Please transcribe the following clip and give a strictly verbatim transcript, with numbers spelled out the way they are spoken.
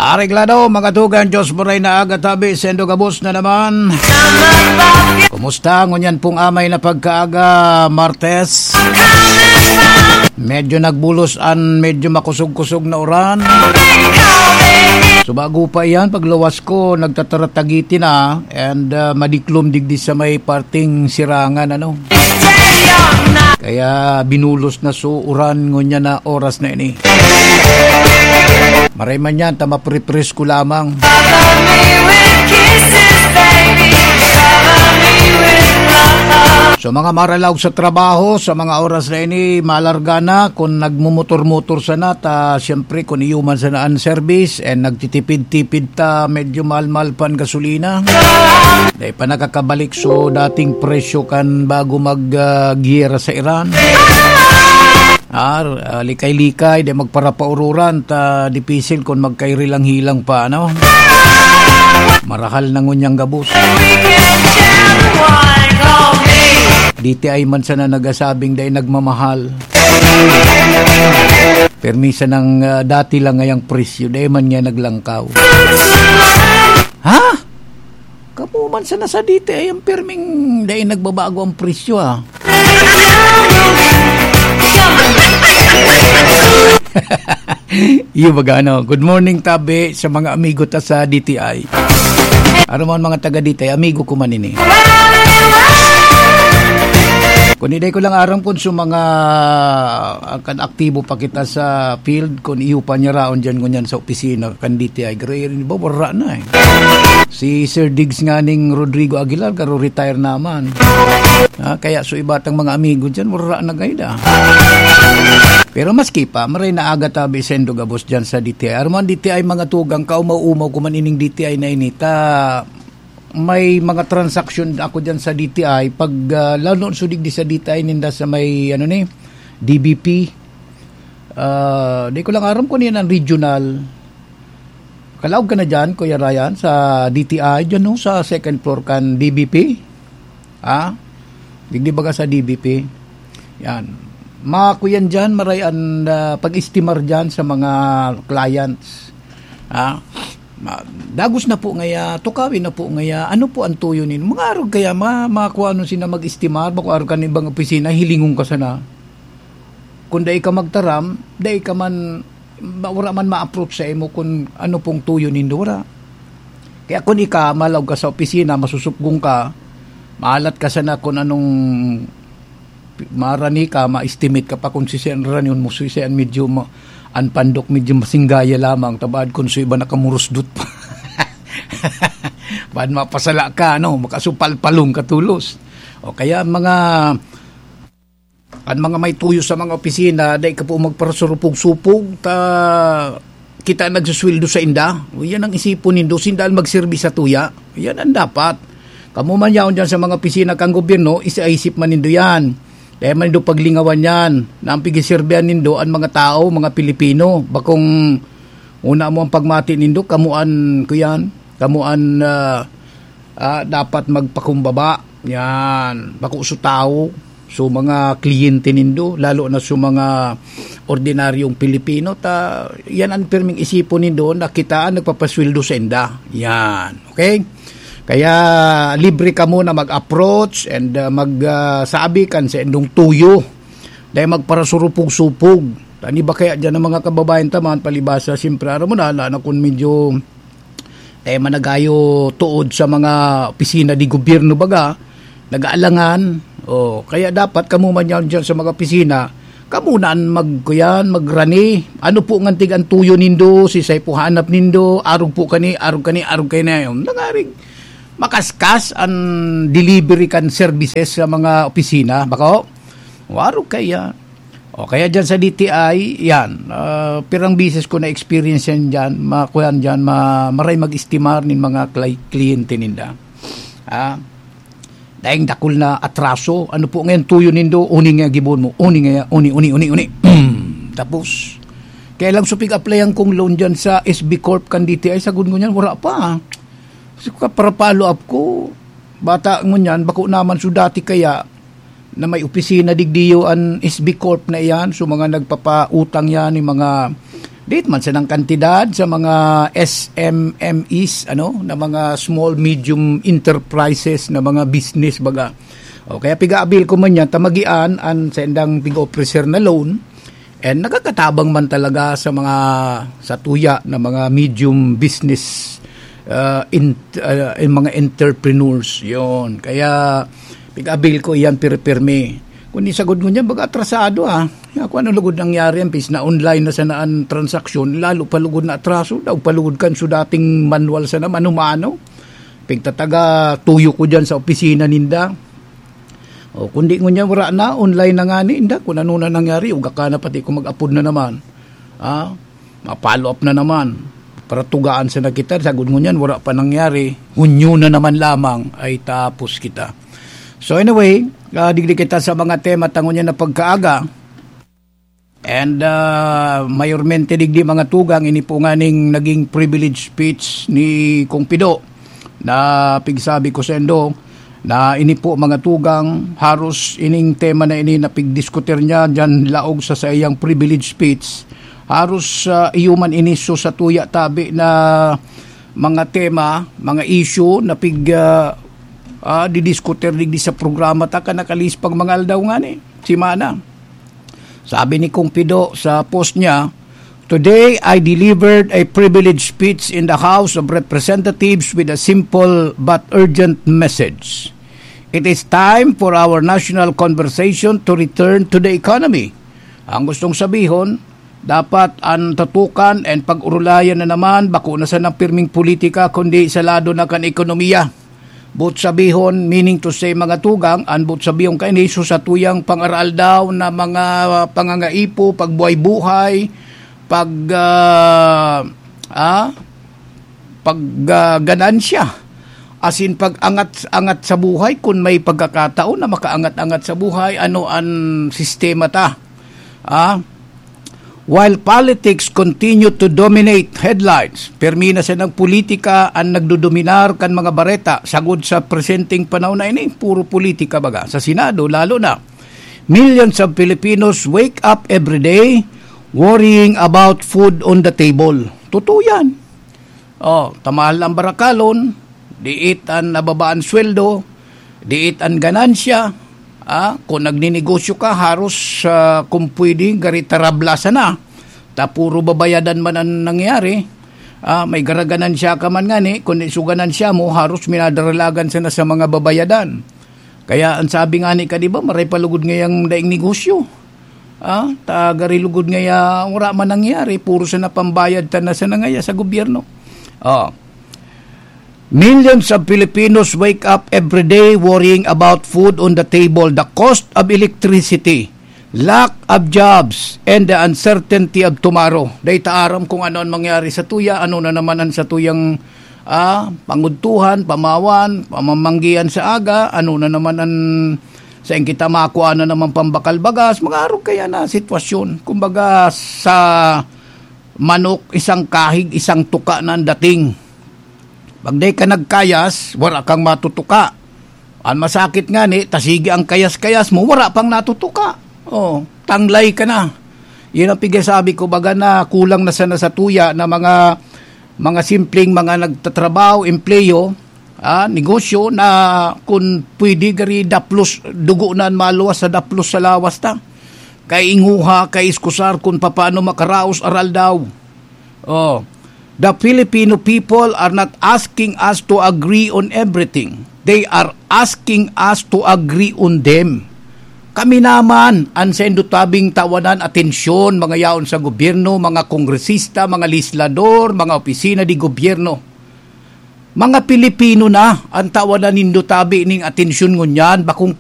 Areglado, mga tugang, Diyos mo rin na aga tabi, sendo gabos na naman. Kumusta? Ngunyan pong amay na pagkaaga, Martes. Medyo nagbulos an medyo makusog-kusog na uran. So, bago pa iyan, pagluwas ko, nagtataratagiti na and, ah, madiklom digdi sa may parting sirangan, ano. Kaya binulos na so uran ngunyan na oras na ini. Maray man yan, ta mapripresko lamang. Sa mga maralaw sa trabaho, sa mga oras na ini, malarga na. Kung nagmumotor-motor sana, ta siyempre, kung iyo man sana ang service, and nagtitipid-tipid ta, medyo mahal-mahal pa ang gasolina. Dahil pa nakakabalik so dating presyo kan bago mag, ah, giyera sa Iran. Ah, ah, likay-likay, di magparapaururan, ta dipisil kun magkairilang-hilang pa, ano? Marahal na ngunyang gabos. D T I man sana nagasabing dai nagmamahal. Permi sanang, ah, dati lang ngayang presyo, dai man nga naglangkaw. Ha? Kamo man sana sa D T I ang perming dai nagbabago ang presyo, ah. Iyo baga, ano? Good morning, tabi, sa mga amigo ta sa D T I. Aram mo, mga taga D T I, amigo ko man ini. Kung iday ko lang aram kung sa mga, ah, kan aktibo pa kita sa field, kung iyo pa niya raon dyan, ngunyan sa opisina kan D T I, garo, iba, wara na eh. Si Sir Diggs nga ning Rodrigo Aguilar, garo retire naman. Ah, kaya so iba tang mga amigo dyan, wara na gayda. Pero maski pa, maray na aga tabi sendo gabos dyan sa D T I. Arman D T I mga tugang, kaumaw-umaw ko man ining D T I na ini, ta may mga transaksyon ako dyan sa D T I. Pag, ah, lalo so digdi sa D T I ninda sa may, ano ni, D B P. Ah, di ko lang aram kung yan ang regional. Kalaog ka na dyan, Kuya Ryan, sa D T I, dyan, no, sa second floor kan D B P. Ha? Digdi baga sa D B P. Yan. Makuyan dyan, maray an, ah, pag-estimar dyan sa mga clients. Ha? Ma-, dagos na po ngaya, tukawin na po ngaya, ano po ang tuyo nin? Mga arog kaya, ma-, makuha nun sila mag-estimar, bako arog kan ibang opisina, hilingon ka sana. Kung dai ka magtaram, dai ka man, ma-, wala man ma-approach sa imo kung ano pong tuyo nindo, wala. Kaya kung ika, malaog ka sa opisina, masusupgong ka, maalat ka sana kung anong pi-, marani ka, ma-estimate ka pa kung sisay an rani, kung sisay an medyo ma-, an pandok medyo masinggaya lamang, tabaad kung sa iba nakamurusdot pa. Baad mapasala ka, ano, makasupalpalong ka tulos. O kaya mga, an mga may tuyo sa mga opisina, dai ka po magparasurupog-supog, ta kita nagsusweldo sa inda. O, yan ang isipon nindo, sinda ang magserbi sa tuya. Yan ang dapat. Kamo man yaon dyan sa mga opisina kang gobyerno, isaisip man nindo yan. Dai man nindo paglingawan yan, na ang pigiserbihan nindo an mga tao, mga Pilipino. Bakong una mo ang pagmati nindo, kamo an, kuyan, kamo an, ah, ah, dapat magpakumbaba. Yan, bako so tawo, so mga kliyente nindo, lalo na so mga ordinaryong Pilipino, ta yan ang pirming isipon nindo na kita ang nagpapasweldo sa inda. Yan, okay? Kaya libre kamo na mag-approach and, ah, mag, ah, sabi kan sa indong tuyo. Dai magparasurupog-supog. Tani ba kaya dyan ang mga kababayan taman, palibasa, siyempre, aram mo na, na, na kung medyo, eh, managayo tuod sa mga opisina di gobyerno baga, nag-aalangan. O, kaya dapat kamo man yan dyan sa mga opisina, kamo na an mag-, kuyan, magrani. Ano po ngan tig ang tuyo nindo, sisay po hanap nindo, arog po kani, arog kani, arog kani. Nangarig, makaskas an delivery kan services sa mga opisina. Bako? O, arog kaya. O, kaya dyan sa D T I, yan. Ah, pirang bisis ko na-experience yan dyan. Makuyan dyan, ma-, maray mag-estimar nin mga klay-, kliyente ninda. Ah, daing dakul na atraso. Ano po ngayon tuyo nindo? Uni nga gibon mo. Uni nga, uni, uni, uni, uni. Tapos, kaya lang supig applyan kong loan dyan sa S B Corp kan D T I. Sagod ko niyan, wala pa. Kasi ka para follow up ko, bata ngunyan, bako naman so dati kaya na may opisina digdiyo an S B Corp na iyan. So, mga nagpapautang yan, yung mga Dili man sanang kantidad sa mga S M M Es, ano, na mga small, medium enterprises, na mga business, baga. O kaya piga-avail ko man yan, ta magian an saindang pig-offer na loan, and nakakatabang man talaga sa mga, sa tuya na mga medium business, uh, in, uh, in mga entrepreneurs. Yon. Kaya piga-avail ko iyan, pirmi-pirmi. Kung isagod ngunyan, baga atrasado, ah. Ya, kung ano lugod nangyari, ang pis na online na sana an transaksyon, lalo pa lugod na atraso, daw pa lugod kan su dating manual sana, mano-mano. Pigtataga tuyo ko dyan sa opisina ninda. O, kundi ngunyan, wala na, online na nga ni, inda, kung ano na nangyari, uga ka na, pati ko mag-apod na naman. Ah, ma-follow up na naman. Para tugaan sana kita, sagod ngunyan, wala pa nangyari. Hunyo na naman lamang, ay tapos kita. So anyway, ah, digdi kita sa mga tema ta ngunyan na pagkaaga. And, ah, mayormente digdi, mga tugang, ini po nganing naging privilege speech ni Kong Pido na pigsabi ko saindo na ini po, mga tugang, haros ining tema na ini na pigdiskutir niya diyan laog sa saiyang privilege speech. Haros, ah, iyo man ini su sa tuya tabi na mga tema, mga issue na pig, ah, ah, didiskutir digdi sa programa ta kan nakalihis pang mga aldaw ngani, semana. Sabi ni Kong Pido sa post niya, "Today, I delivered a privileged speech in the House of Representatives with a simple but urgent message. It is time for our national conversation to return to the economy." Ang gustong sabihon, dapat an tutukan and pag-urulayan na naman, bako na sana pirming politika, kundi sa lado na kan ekonomiya. Boot sabihon, meaning to say, mga tugang, an boot sabihon kaini, su sa tuyang pang-araaldaw na mga pangangaipo, pagbuhay-buhay, pag, ah, ah, pag, ah, ganansya. Asin pag-angat-angat sa buhay, kun may pagkakataon na makaangat-angat sa buhay, ano an sistema ta? Ah, while politics continue to dominate headlines, pirmi na sanang politika an nagdodominar kan mga bareta sagod sa presenteng panahon na ini. Puro politika baga. Sa Senado, lalo na. Millions of Filipinos wake up every day worrying about food on the table. Totoo yan. Oh, ta mahal ang barakalon, diit an nababaan sweldo, diit an ganansya, ah, kung nagninegosyo ka, haros, ah, kung pwede, gari tarabla sana. Ta puro babayadan man an nangyari. Ah, may garaganan siya ka man ngani, kung isuganan siya mo, haros minadaralagan sana sa mga babayadan. Kaya ang sabi nga ni ka, di ba, maray palugod ngayang daing negosyo. Ah, ta gari lugod ngaya, wala man nangyari, puro sana pambayad ta na sana ngaya sa gobyerno. Oh. Millions of Filipinos wake up every day worrying about food on the table, the cost of electricity, lack of jobs, and the uncertainty of tomorrow. Dai ta aram kung ano ang mangyari sa tuya, ano na naman ang sa tuyang, ah, pangudtuhan, pamawan, pamamanggian sa aga, ano na naman ang sain kita makuha na naman pambakal bagas, mga arog kaya na sitwasyon. Kumbaga, sa manok, isang kahig, isang tuka na ang dating. Pag di ka nagkayas, wala kang matutuka. Ang masakit nga ni, ta sige ang kayas-kayas mo, wala pang natutuka. Oh, tanglay ka na. Yun ang pigasabi ko, baga na kulang na sana sa tuya na mga, mga simpleng mga nagtatrabaho, empleyo, ah, negosyo na kung pwede gari daplos, dugo na ang maluwas sa daplos sa lawas ta. Kay inguha, kay iskusar kung papaano makaraos aral daw. Oh, the Filipino people are not asking us to agree on everything. They are asking us to agree on them. Kami naman, ang sendo tabing tawanan atensyon, mga yaon sa gobyerno, mga kongresista, mga legislador, mga opisina di gobyerno. Mga Pilipino na ang tawanan nindo tabi ning atensyon ngunyan, bakong